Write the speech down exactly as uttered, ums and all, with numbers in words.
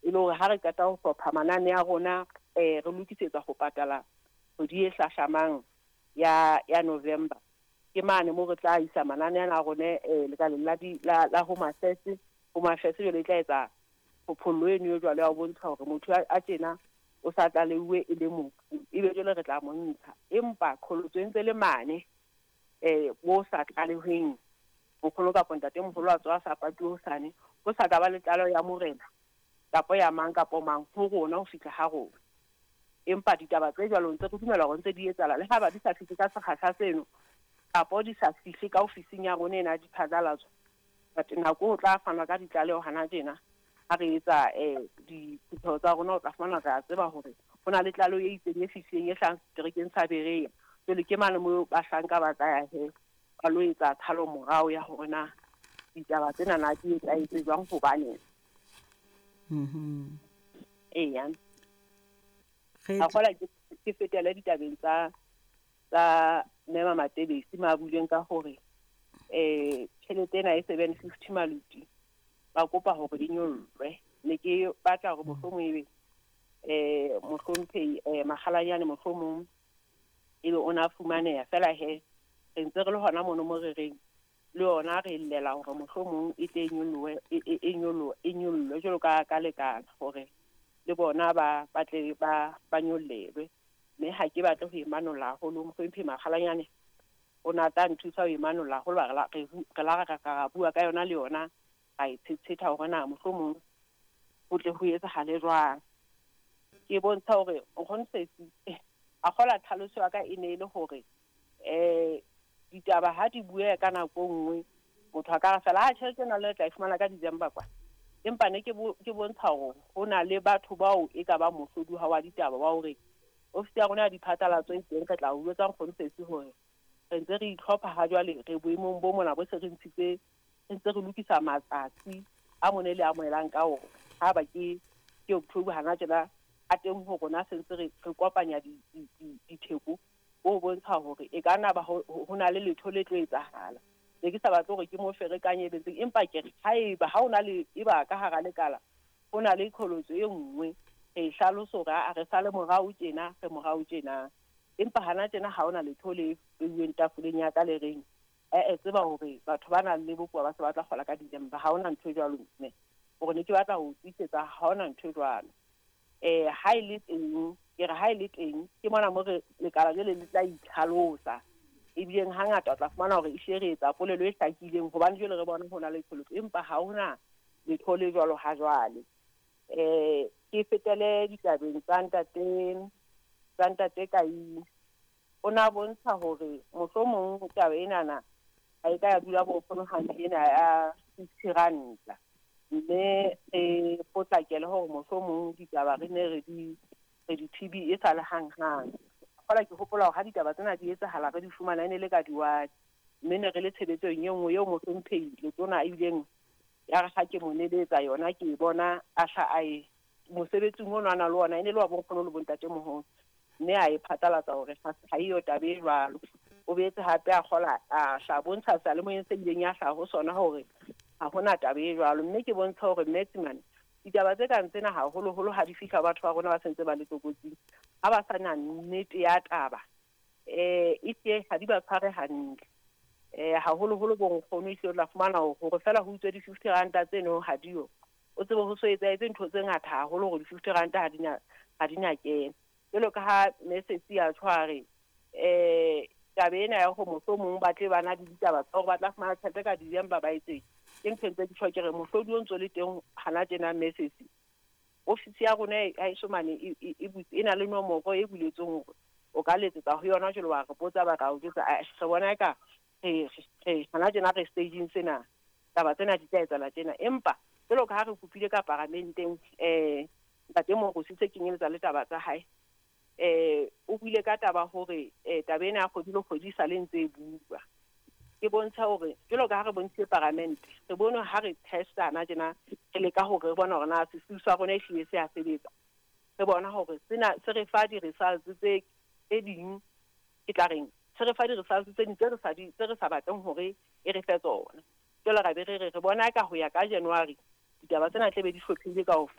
E le hore ha re qeta ho hlopha manane a rona, eh re lokisetsa ho patala kgwedi e hlahlamang ya ya November. Ke mane mo re tla isa manane ana a rona eh lekaleng la di la, la Home Affairs. Home Affairs jwale e tla etsa phophollo eno e jwalo ya ho bontsha hore motho a tjena o sa tlaleuwe e le mofu, ebe jwale re tla mo ntsha. Empa qholotso e ntse le mane eh bo sa tlalehweng nkgono kapa ntatemoholo a tswa a sa patuwe hosane, ho sa ka ba le tlaleho ya morena kapa ya mang kapa mang ho rona ho fihla ha rona. Empa ditaba tse jwalo ntse re dumela hore ntse di etsahala, le ha ba di sa fihle ka sekgahla seno kapa di sa fihle ka ofising ya rona ena ya diphatlalatso. But nako ho tla fanwa ka ditlaleho hana tjena ha re etsa eh diphutheho tsa rona, o tla fumana re a tseba hore ho na le tlaleho e itseng e fihlileng e hlahang seterekeng sa Berea. Jwale ke mane moo bahlanka ba tla ya he ba lo etsa tshalo morao ya hore na ditaba tsena na di etsahetse jwang, hobaneng. Mhm. Eya. Re A kgola ke ke fetele ditabeng tsa tsa Mme Matebesi ma buileng ka hore eh tjhelete ena e seven fifty maluti ba kopa hore di nyollwe. Ne ke batla hore mohlomong ebe eh mohlomphehi eh Makgalanyane mohlomong ebe o na fumaneha fela he re ntse re le hona mono mo re reng le yona re llela hore mohlomong e tle e nyollowe e e e nyollowe e nyollwe jwalo ka ka lekala hore le bona ba ba tle ba ba nyollelwe. Mme ha ke batle ho e manolla haholo, mohlomphehi Makgalanyane o na tla nthusa ho e manolla haholo, re la re re la ra ra bua ka yona le yona ra e tshetsheta hore na mohlomong ho tle ho etsahale jwang. Ke bontsha hore nkgono Sesi a kgola tlhaloso ya ka e ne e le hore eh ditaba ha di bueha ka nako e nngwe motho a ka re fela ha tjhelete ena le tla e fumana ka December kwa. Empa ne ke bo ke bontsha hore ho na le batho bao e ka ba mohlodi wa ditaba wa hore ofisi ya rona ya diphatlalatso e teng, re tla o jwetsa nkgono Sesi hore re ntse re itlhopha ha jwale re boemong bo mona bo se re ntshitse, re ntse re lokisa matsatsi a mone le amohelang ka ona. Ha ba ke ke October hana tjena a teng ho rona se ntse re re kopanya di di ditheko bo bontsha hore e ka nna ba ho ho na le letho le tlo etsahala. Ne ke sa batle hore ke mo ferekanye betseng, empa ke re haeba ha o na le eba ka hara lekala ho na le qholotso e nngwe re e hlalosa hore a re sale morao tjena, re morao tjena. Empa hana tjena ha hona letho le beuweng tafoleng ya ka le reng eh tseba hore batho ba nang le bokowa ba se ba tla kgola ka December. Ha hona ntho e jwalo mme hore ne ke batla ho tiisetsa ha hona ntho e jwalo. Eh ha e le teng, ke re ha e le teng ke mona mo re lekala jwale le tla itlhalosa. Ebileng hangata o tla fumana hore e hlile re etsa polelo e hlakileng hobane jwale re bona ho na le qholotso, empa ha hona letho le jwalo ha jwale. Eh ke fetele ditabeng tsa ntate tsa ntate Kai. O na bontsha hore mohlomong taba enana ha e ka ya dula bo nkgono hantle ena ya fifty ranta, mme re potlakele hore mohlomong ditaba re ne re di re di T B e sa le hanghang. Kgola ke hopola hore ha ditaba tsena di etsahala re di fumana e ne le ka di-one, mme ne re le tshebetsong e nngwe eo mohlomphehi Letona a ileng ya re ha ke mo neletsa yona ke e bona a hla a e mosebetsing ono a na le ona e ne le wa bonkgono le bontatemoholo, mme a e phatlalatsa hore ha eyo taba e jwalo. O boetse hape a kgola a hla bontsha seyalemoyeng se ileng ya hlaha ho sona hore ha hona taba e jwalo. Mme ke bontsha hore Metsimane ditaba tse kang tsena haholoholo ha di fihla batho ba rona ba sentse ba le tlokotsing, ha ba sa na nnete ya taba eh e hle ha di ba tshware hantle. Eh haholoholo bo nkgono ehlile o tla fumana hore fela ho utswe di-fifty ranta tseno ha diyo, o tsebe ho so etsahetse ntho tse ngata haholo hore di-fifty ranta ha di na ha di na kena. Jwalo ka ha Mesesi a tshware eh taba ena ya hore mohlomong ba tle ba na le ditaba tsa hore ba tla fumana tjhelete ka December ba etseng, ke ntho e ntse ke tjho ke re mohlodi o ntso le teng hana tjena Mesesi. Ofisi ya rona ha eso mane e e e butse, e na le nomoro e buletsweng hore o ka letsetsa ho yona jwalo wa re botsa ba ka o jwetsa. Re bona eka re re hana tjena re staging sena, taba tsena di tla etsahala tjena. Empa jwalo ka ha re kopile ka paramenteng eh ntate Morosi se kenyeletsa le taba tsa hae, eh o buile ka taba hore eh taba ena ya kgwedi le kgwedi e sa le ntse e bua. Ke bontsha hore jwalo ka ha re bontshitse paramente, re bone ha re testana tjena re leka hore re bone hore na sesiu sa rona ehlile se a sebetsa. Re bona hore sena se re fa di-results tse tse ding, ke tla reng se re fa di-results tse ding tse re sa di tse re sa batleng hore e re fe tsona. Jwale ra be re re re bona ka ho ya ka January ditaba tsena tle be di hlophile kaofela.